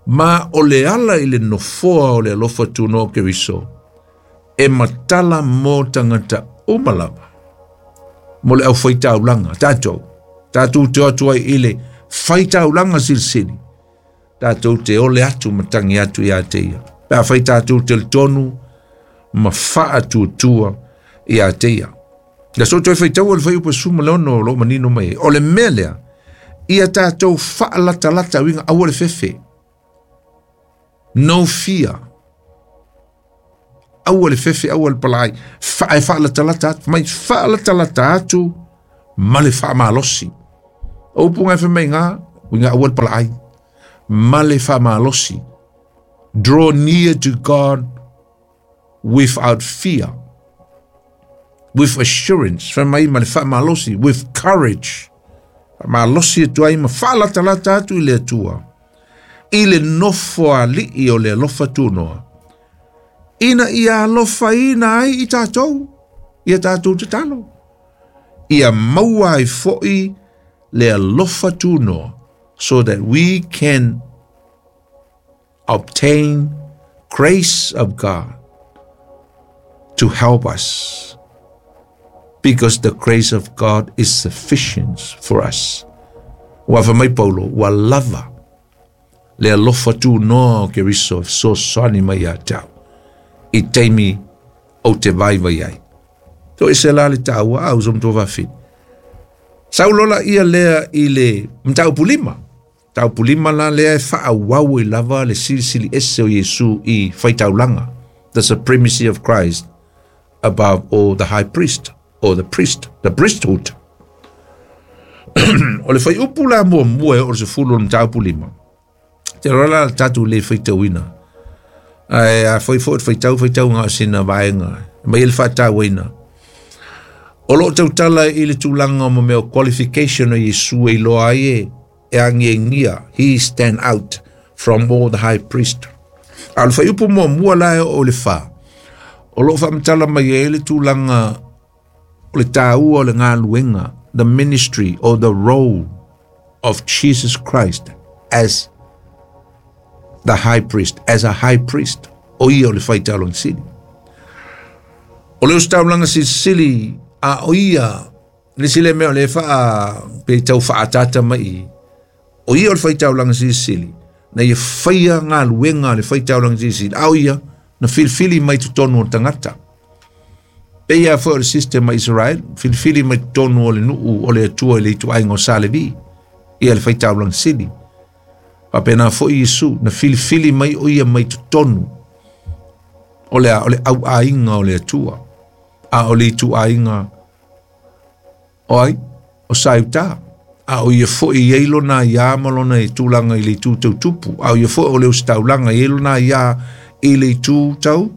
ma o le ala i le nofoa o le alofa tunoa o Keriso, e matala mo tagata uma lava, mo le aufaitaulaga, tatou, tatou te o atu ai i le faitaulaga silisili, tatou te ole atu ma tangi atu ia te ia. Pe afai tatou talitonu ma faatuatua ia te ia. Le aso toe faitaua le fuaiupu 16 o lo o manino mai ai. O le mea lea, ia tatou faalatalata uiga aua le fefe. No fear. Aua le fefe, aua le palaai. Ae faalatalata atu, mai faalatalata atu ma le faamalosi. O upu nga e fai mai iga, uiga aua le palaai. Ma le faamalosi. Draw near to God without fear. With assurance. Fai mai ma le faamalosi. With courage. Faamalosi atu ai ma faalatalata atu i le Atua. I le nofoalii o le alofa tunoa. Ina ia alofaina ai i tatou, ia tatou tatalo. Ia maua ai foi le alofa tunoa, so that we can obtain grace of God to help us, because the grace of God is sufficient for us. Ua fai mai Paulo, ua lava le alofa tunoa o Keriso e fesoasoani mai ia te au i taimi ou te vaivai ai. Toese la le taua a uso matua fafine. Sau lola ia lea i le mataupu lima. Mataupu lima la lea e faaauau ai lava le silisili ese o Iesu i faitaulaga, the supremacy of Christ above all the high priest, or the priest, the priesthood. O le fuaiupu la muamua e oo i le 10 o le mataupu lima. Te roa la le tatou le faitauina. Ae a foi foi faitau faitau ngā sina vaenga. Mai le faatauaina. O loo tautala i le tulaga mo mea o qualification o Iesu e iloa ai e e agiagia. He stand out from all the high priest. A o le fuaiupu muamua la e oo i le 4. O loo faamatala mai ai le tulaga o le taua o le galuega, the ministry or the role of Jesus Christ as the high priest, as a high priest. O ia o le faitaulaga sili. O le ositaulaga silisili a o ia le isi lea mea o lea faa pe tau faaataata mai i o ia o le faitaulaga silisili na ia faia galuega a le faitaulaga silisili a o ia na filifili mai totonu o le tagata. Pei a foi o le system a Israel, filifili mai totonu o le nuu o le Atua i le ituaiga o Sa Levi, ia le faitaulaga sili. Faapena foi Iesu, na filifili mai o ia mai totonu o le a, o le auaiga o le Atua, a o le ituaiga o ai, o Saiuta. A o ia foi i ai lona aiā ma lona tulaga i le itu tau tupu. A o ia foi o le ositaulaga i ai lona aiā i le itu tau,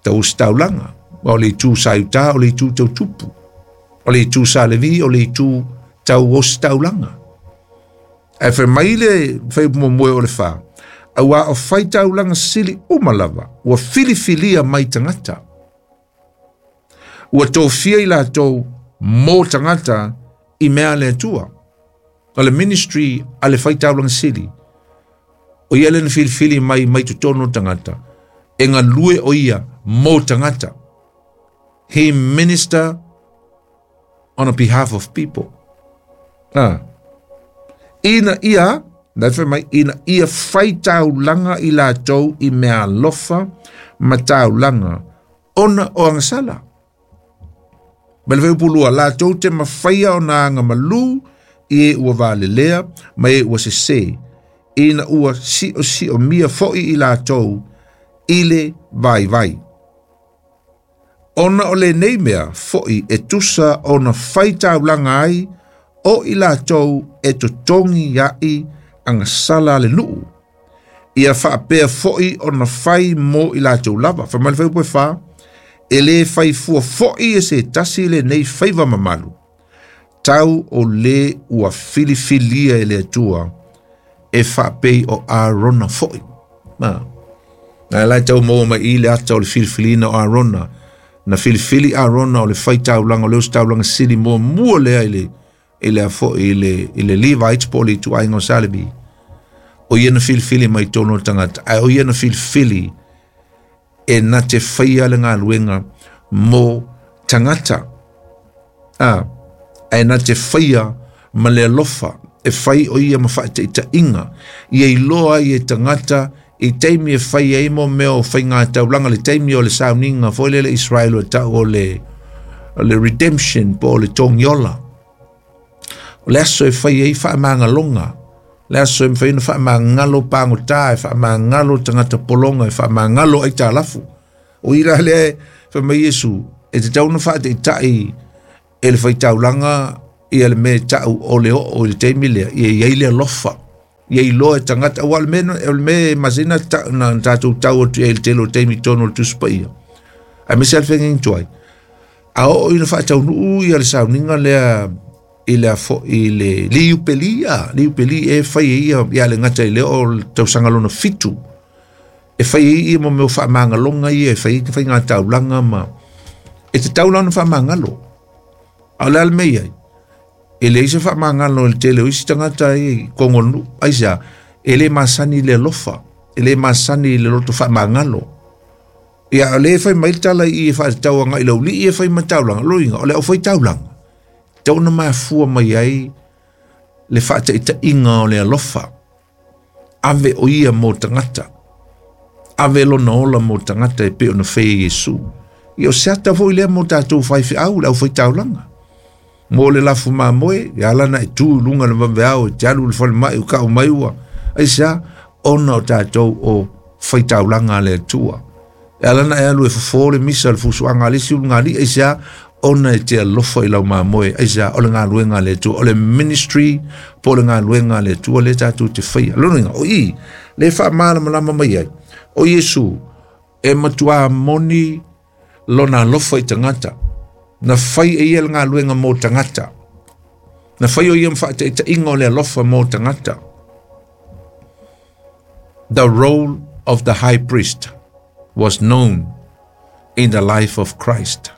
tau ositaulaga. O le itu Saiuta, o le itu tau tupu. O le itu Sa Levi, o le itu tau ositaulaga. Ae fai mai le fai muamua o le 4, auā o faitaulaga sili uma lava, ua filifilia mai tagata. Ua tofia i latou mo tagata i mea a le Atua. O le ministry a le faitaulaga sili, o ia lea na filifili mai mai totonu o tagata, e galue o ia mo tagata. He minister on a behalf of people. Ah. Ina ia, na fai mai, ina ia faitaulaga i latou i mea alofa ma taulaga, ona o agasala. Ma le fuaiupu lua, latou te mafaia ona aga malū i e ua valelea ma e ua sesē, ina ua siosiomia foi i latou i le vaivai. Ona o lenei mea foi e tusa ona faitaulaga ai o i latou e totogi a'i agasala a le nuu, ia faapea foi ona fai mo i latou lava. Fai mai le fuaiupu e 4, e lē fai fua foi e se tasi lenei faiva mamalu, tau o lē ua filifilia e le Atua e faapei o Arona foi. Ma, na la e tau maua mai i le ata o le filifiliina o Arona. Na filifili Arona o le faitaulaga, o le ositaulaga sili muamua lea i le i le foi i le i le Levites po o le ituaiga o Sa Levi. O ia na filifili mai totonu o le tagata, ae o ia na filifili e na te faia le galuega mo tagata. A, ae na te faia ma le alofa, e fai o ia ma faataitaiga, ia iloa ai e tagata i taimi e fai ai mo mea o faigataulaga, le taimi o le sauniga foi lele Israel o tau o le, o le redemption po o le togiola. O le aso e fai ai faamagaloga Le aso e mafai ona faamagalo pagota, e faamagalo tagata pologa, e faamagalo aitalafu. O i la lea fai mai Iesu, e tatau ona faataitai e le faitaulaga ia le mea e tau o le oo i le taimi lea, ia i ai le alofa, ia iloa e tagata, aua o le mea, o le mea e masani na tatou tau atu i ai i le tele o taimi i totonu o le Tusi Paia, aemaise lava le feagaiga tuai. A oo ina faataunuu ia le sauniga lea i le afo i le liupelia, liupeli e fai e ia ia le gata i le o le tausaga lona 7. E fai e ia mo mea faamagaloga ia, e fai e faiga taulaga ma e te tau la ona faamagalo. A o le a le mea i ai? E leai se faamagalo i le tele o isi tagata i totonu o le nuu. Aisea? E le masani i le alofa, e le masani i le loto faamagalo. Ia, o lea e fai mai le tala i i e faatatau agai i le aualii e fai ma taulaga, loiga, o le aufai taulaga, tatau ona mafua mai ai le faataitaiga o le alofa. Ave o ia mo tagata. Ave lona ola mo tagata e pei ona faia e Iesu. Ia o se ata foi lea mo tatou faifeau, le aufai taulaga. Mo le lafu mamoe, e ala na e tu i luga o le vaveao e te alu i le falemai o kau mai ua. Aisea? Ona o tatou o faitaulaga a le Atua. E ala na e alu e fofo le misa le fusuaga a le isi ulugalii, aisea? Ona e te alofa i lau mamoe, aisea? O le galuega a le Atua, o le ministry po o le galuega a le Atua lea tatou te faia. Lona uiga, o i le faamalamalama mai ai, o Iesu e matua moni lona alofa i tagata. Na fai e ia le galuega mo tagata. Na fai o ia ma faataitaiga o le alofa mo tagata. The role of the high priest was known in the life of Christ.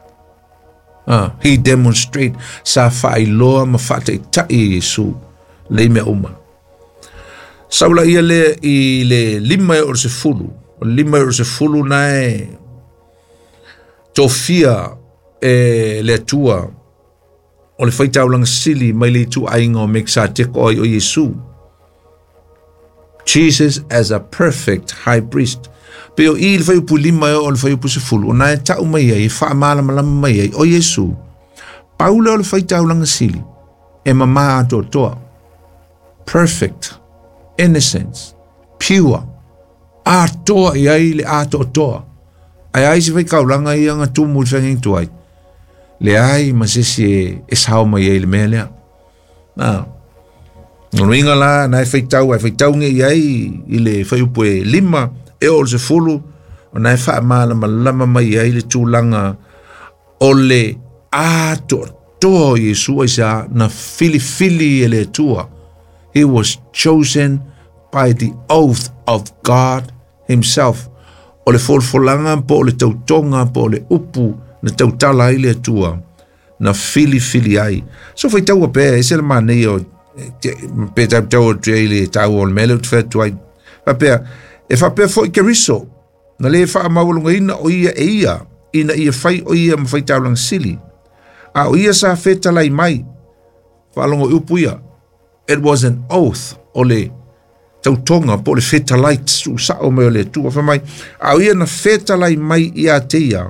He demonstrate sa faailoa ma faataitai e Iesu lei mea uma. Saula ia le i le 5 e o le 10. O le 5 e o le 10 na e tofia e le Atua o le faitaulaga sili mai le ituaiga o Mekisateko ai o Iesu. Jesus as a perfect high priest. Pe o i le fuaiupu 5 e oo i le fuaiupu 10, o na e tau mai ai, e faamalamalama mai ai, o Iesu, pau lea o le faitaulaga sili, e mama atoatoa. Perfect, innocence, pure, atoa i ai le atoatoa. Ae ai se faikaulaga ia na tumu i le feagaiga tuai, leai ma se isi e sao mai ai i le mea lea. Na, lona uiga la, na e faitau, ae faitau nei ai i le fuaiupu e 5, e oo i le 10, o na e faamalamalama mai ai le tulaga o le atoatoa o Iesu, aisea? Na filifili e le Atua. He was chosen by the oath of God himself. O le folafolaga po o le tautoga po o le upu na tautala ai le Atua, na filifili ai. So faitaua pea, e ese le manaia o pe tautau atu ai le taua o le mea lea ou te fai atu ai. Faapea, e faapea foi Keriso, na le faamaualugaina o ia e ia, ina ia fai o ia ma faitaulaga sili. A o ia sa fetalai mai, faalogo i upu ia, it was an oath, o le tautoga po o le fetalai tuusao mai o le Atua. Fai mai, a o ia na fetalai mai ia te ia,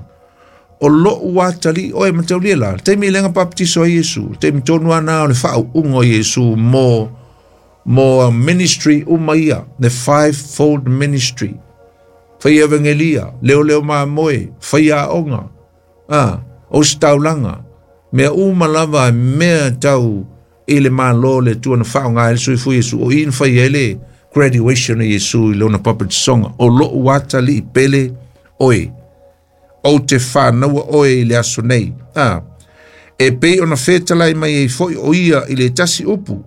o lou atalii oe mataulia la. Le taimi lea na bapetiso ai Iesu, le taimi tonu lava o le faauuga o Iesu mo ministry uma ia, the fivefold ministry. Fai evangelia, leoleo mamoe, fai aoga, ositaulaga, mea uma lava mea tau i le malo le Atua na faaaoga ai le soifua Iesu, o i na fai ai le graduation o Iesu i lona papatisoga, o lou atalii pele oe, ou te whānaua oe i le aso nei. E pei ona fetalai mai ai foi o ia i le tasi upu,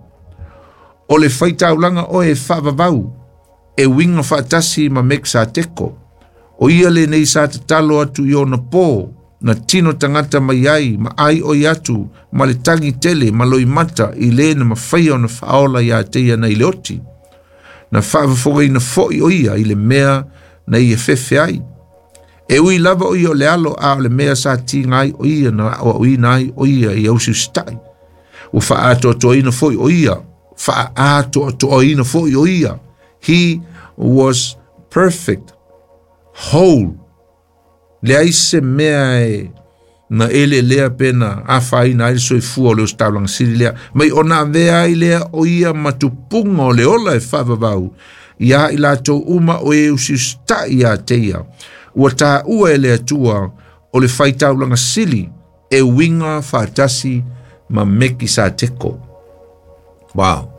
o le faitaulaga oe e faavavau, e uiga faatasi ma Mekisateko. O ia lenei sa tatalo atu i ona pō, na tino tagata mai ai, ma ai oi atu, ma le tagi tele, ma loimata, i le na mafaia ona faaola ia te ia nai le oti. Na faafofogaina foi o ia i le mea na ia fefe ai. E ui lava o ia o le alo, a o le mea sa tiga ai o ia na aoaoina ai o ia i ausiusitai. Ua faaatoatoaina foi o ia, faaatoatoaina foi o ia. He was perfect, whole. Leai se mea e Na ele lea pena afaina ai le soifua o le ositaulaga sili lea mai ona avea ai lea o ia matupuga o le ola e faavavau iā i latou uma o e usiusitaʻi iā te ia ua taua e le Atua o le faitaulaga sili e uiga faatasi ma Mekisateko. Wow.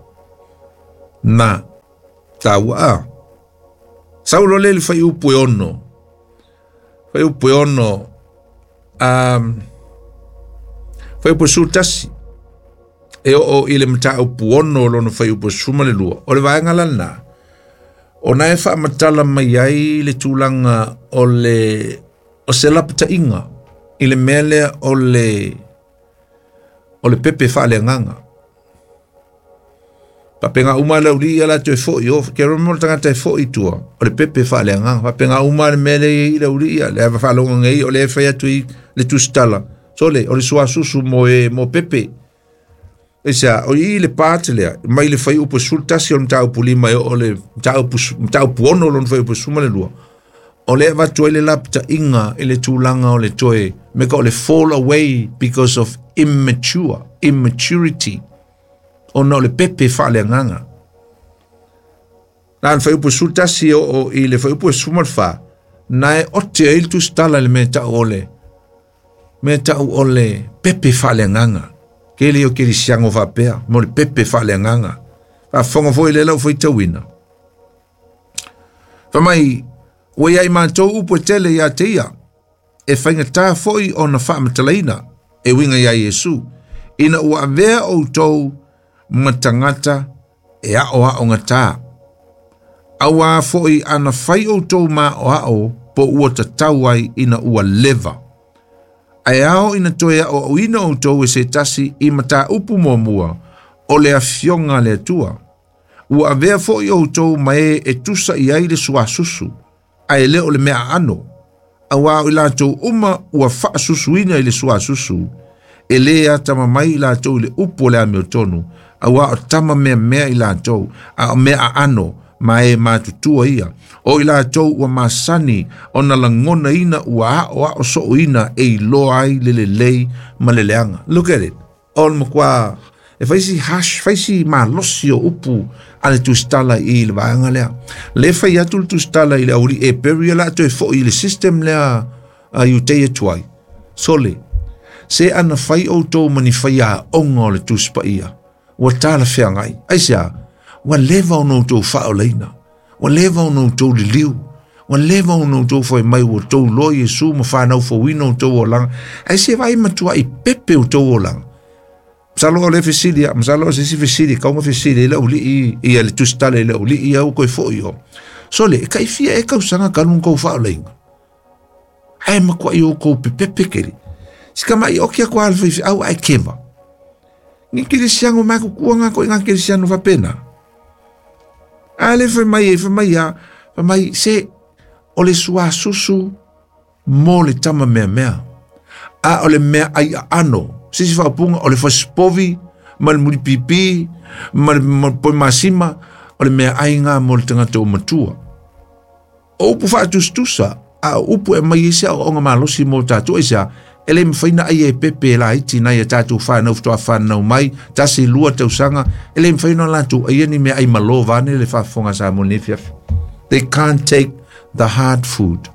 Na taua a. Saulo le le faiupu e ono. Faiupu e ono. Faiupu e 11. E oo i le mataupu ono lona faiupu e 12. O le vaega lana. O na e faamatala mai ai le tulaga o le o se lapataiga i le mea lea o le pepe faaleagaga. Papenga uma le uli ia latou e fo'i o ke romo le tagata e fo'i tua o le pepe faaleagaga. Papenga uma le mea lea i le uli ia le ava faalogo nei o le fai atu i le tusitala. Sole o le suasusu mo e mo pepe. Esa o i le part lea mai le fai upu 11 o le mataupu 5 e o le mataupu 6 lona fai upu 12. O le avatu ai le lapataiga i le tulaga o le toe me ka o le fall away because of immaturity. Ona o le pepe faaleagaga. Na le fai upu 11 o i le fai upu 14 na e ote ai le tusitala i le mea tau o le pepe faaleagaga. Ke le o ke lisiango faapea mo le pepe faaleagaga. Faafofoga foi le lau faitauina. Famai ua iai matou upu e tele iā te ia e faigatā foi ona faamatalaina e uiga iā Iesu ina ua avea outou ma tagata e aoaogatā. Auā foi ana fai outou maoao po ua tatau ai ina ua leva. Ae ao ina toe aoaoina outou e se tasi i mataupu muamua o le afioga a le Atua. Ua avea foi outou ma e e tusa i ai le suasusu, ae le o le mea aano. Auā o i latou uma ua faasusuina i le suasusu, e lē atamamai i latou i le upu o le amiotonu, auā o tama meamea i latou, a o mea aano ma e matutua ia. O i latou ua masani ona lagonaina ua aoao sooina e iloa ai le lelei ma le leaga. Look at it. O le makuā e faisi hash, faisi malosi o upu a le tusitala i le vaega lea. Le fai atu le tusitala i le auli e peri la toe fo'i i le system lea a Iuteia tuai. Sole, se ana fai outou ma ni fai aoga o le Tusi Paia. Ua talafeagai. Aisea, ua leva ona outou faaolaina. Ua leva ona outou liliu. Ua leva ona outou fai mai ua outou loa Iesu ma whanau fauina outou olaga. Ae se vai matua i pepe outou olaga. Masalo o le fesili, masalo o se isi fesili, kaunga fesili i le uli i le tusitala i le uli i au koe fo'i o. Sole, e kaifia e kausaga kalunga kou faaolaina. Ae makuai o kou pepepe keri. Sika mai o kia kua alwhai au ai keva. Ngi kerisiano mako kua ngā koe ngā kerisiano whapena. A le whai mai e whai mai a, whai mai se o le suasusu mo le tama mea mea. A o le mea ai a ano. Sisi whaapunga o le whasipovi, ma le muripipi, ma le poi masima, o le mea ai ngā mo le tangata o matua. O upu whaatustusa, a upu e mai ese o onga malosi mo tātou ese e le mawhaina ai e pepe la iti nai e tātou whanau whatoa whanau mai, tasi lua tausanga, e le mawhaina lātou ai ni mea ai malo vane le whaafonga sa mo nefiafi. They can't take the hard food.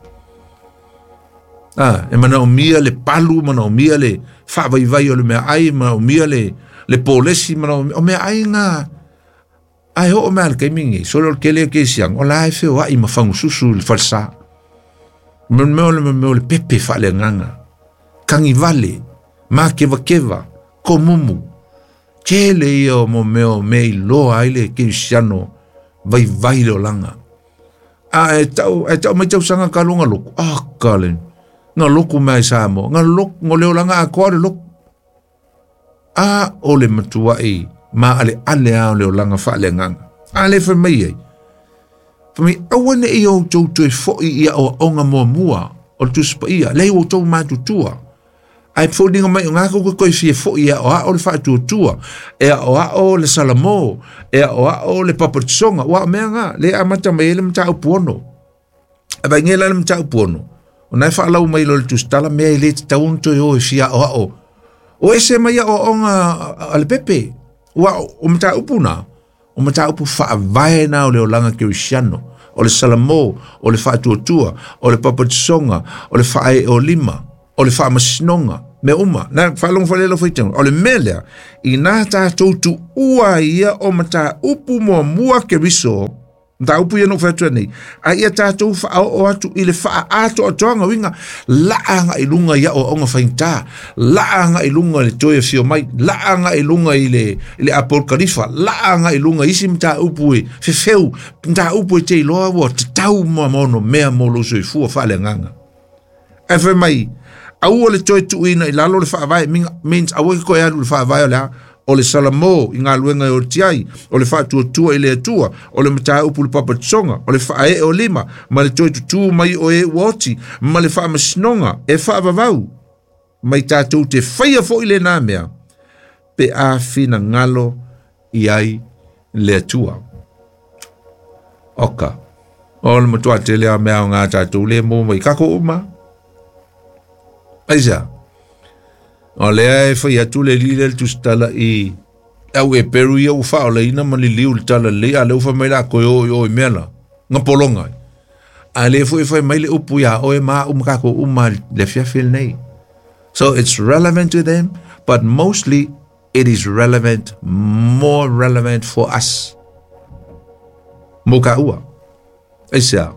Ah, e mana o mia le palu, mana o mia le whaavaivai o le mea ai, mana o mia le polesi, mana o mea ai ngā. Ai ho o mea le kaimingi, solo o kele ke siang, o la e whio ai mawhangususu le falsa. Mea le pepe whaale nganga. Kangi vale, ma keva keva, komumu. Tele ia o mo meo me i loa ai le kerisiano vai vai le olanga. A e tau mai tau sanga ka longa loko. Ah, kale. Ngā loko mai sa mo. Ngā loko, ngā le olanga a koa le loko. A o le matua i, ma ale ale a o le olanga whaale nganga. A le whai mai ai. Whai mai, awane i o tau toe foi ia o onga mua mua o le Tusi Paia. Lei o tau matutua. Ai fōninga mai o ngā koko koe fie foi e o ao le whaatuatua, e o ao le salamo, e o ao le papatisonga, ua mea ngā, le amata mai ele mta upuono. A vai ngela le mta upuono. O na e whaalau mai lo le tusitala mea i le te taun toi o e fia o ao. O ese mai o onga a le pepe. Ua o mata upu na. O mata upu whaavae na o le olanga kerisiano. O le salamo, o le whaatuatua, o le papatisonga, o le whae o lima, o le whaamasinonga. Me uma, na whaalongo whalelo whaitenga. O le melea, i nā tātou tu ua ia o mata upu mua mua keriso, mata upu ia no whatua nei, a ia tātou wha o atu i le wha ato atoanga winga, laanga i lunga ia o onga whainta, laanga i lunga le toi fio mai, laanga i lunga i le Apol Khalifa, laanga i lunga isi mata upu e fefeu, mata upu e te iloa ua te tau mua mono mea mo lo soifua whaale nganga. E whai mai, aua le toi tuina i lalo le whaavae, means aua ki koe alu le whaavae o le a, o le salamo i ngā luenga e o tiai, o le whaatuatua i le atua, o le mataa upu le papatisonga, o le whae o lima, ma le toi tutu mai o e uoti, ma le whaamasinonga e whaavavau, mai tātou te whaia fo i le nā mea, pe a whina ngalo i ai le atua. Oka, o le matua te lea mea o ngā tātou le mō mai kako uma. Aisa, o lea e whai atu le lile le tusitala i au e peru ia u wha o leina ma li liu le tala le a le uwha mai la koe o i o i mea la, ngā polonga. A le fo e whai mai le upu ia o e maa umakako uma le fiafil nei. So it's relevant to them, but mostly it is relevant, more relevant for us. Moka ua. Aisa,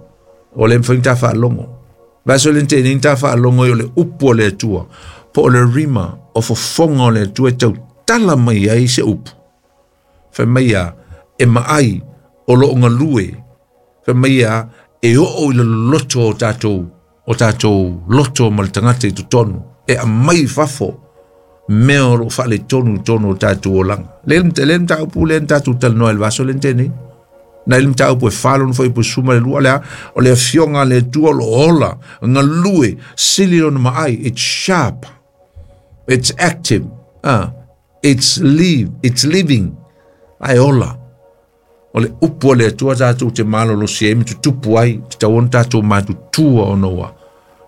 o le mwhainga tā whaalongo. Vaso le te ninta whaalongo i o le upu o le atua. Po o le rima o fofonga o le atua e tau tala mai ai se upu. Whai mai a e maai o lo onga lue. Whai mai a e oo i le loto o tātou loto ma le tangata i totonu. E a mai fafo mea o lo whaale tonu tonu o tātou o langa. Le mta upu le tātou talanoa i le vaso le tēnei. Na ile mta upu e whalo no whai suma le lua lea, o le fionga le tua lo ola, ngā lue, sili lona maai, it's sharp, it's active, it's live, it's living, ai ola. O le upu o le atua tātou te malo lo si e tutupu ai, te tau on tātou matutua o noa,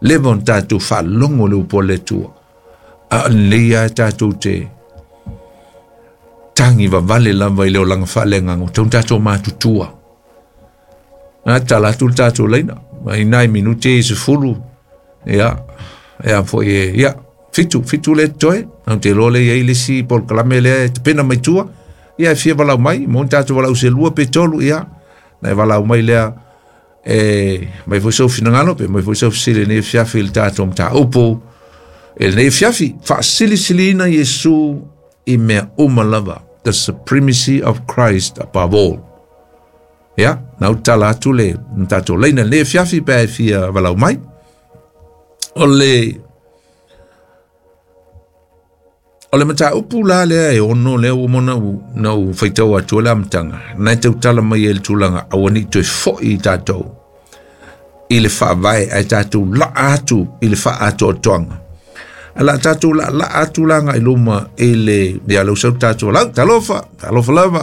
lewa on tātou whalongo le upu o le atua. A lea tātou te tangi vavale lava i le olanga whaalenga o tau tātou matutua. A tala atu le tātou leina. Mai nai minute i se fulu. Ia, ia fo e, ia, fitu le toe. Au te loa le iai le si pol kalame lea e te pena mai tua. Ia e fia walau mai, mo tātou walau se lua pe tolu, ia. Na e walau mai lea, e, mai foi sau finangalo pe, mai foi sau sile nei fiafi le tātou mta upu. E nei fiafi, whaasilisilina Yesu i mea uma lava. The supremacy of Christ above all. Ia, na utala atu le tātou leina le fiafi pe e fia walau mai. O le mata upu la lea e ono lea o mona u na u whaitau atu le amtanga. Nai te utala mai e le tūlanga awani toe foi i tātou. I le whaavae ai tātou la atu i le wha atu o toanga. Ala tātou la atu langa i luma e le ia lau sau tātou lau talofa talofa lava.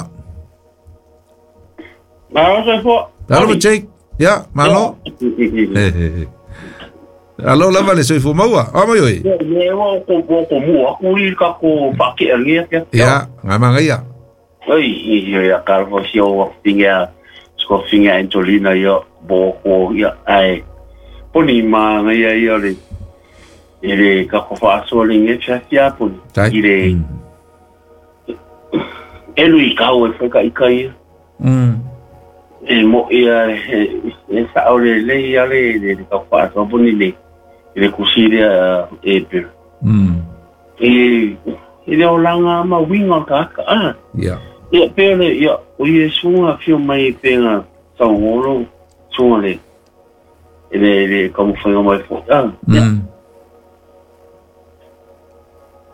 Malo se fo. Talofa Jake. Ya, malo. Alo lava le soifua maua. O mai oi. Ye wa ko ko mua ku i ka ko whake angia kia. Ya, ngā manga ia. Oi, i ia ka fo si o finga sko finga Antolina ia bo ko ia ai. Poni ma ia ia le i le ka ko whaasoa le nge fia poni. I le elu i kau e whaika i kai. E mo ia e sao le le ia le le ka whaasoa poni le i le kusiria e pera. E le olanga ma winga ka ka. Ia. Ia pera ia o Yesu a fio mai e pera saungolo sunga le e le le kamuwhainga mai fo. Ia.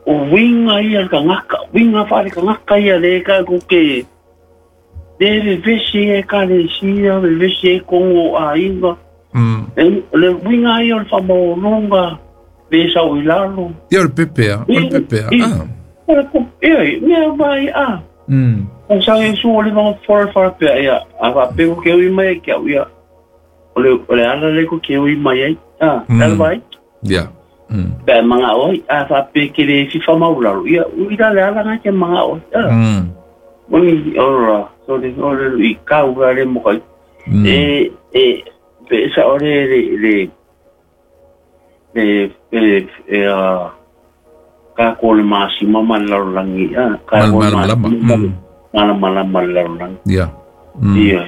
O winga ia ka ngaka, winga whare ka ngaka ia le ka kuke. Le vesi e ka le sia, le vesi e kongo a inga. Le winga ia o le whamaolonga, le sau i lalo. Ia o le pepea, o le pepea. Ia, mea vai a. O sa e su o le vanga whara whara pea ia. A wha peko ke ui mai ke au ia. O le ala le ko ke ui mai ai. A, tala vai. Ia. Pe manga oi, a fa pe ke le fifa maulalo. Ia, ui la le ala nga ke manga oi. A. Moni ora, so le ore i kau la le mo kai. E e pe sa ore le le le e e a ka ko le masi mama la langi a ka ko le mala mala mala la langi. Ia. Ia.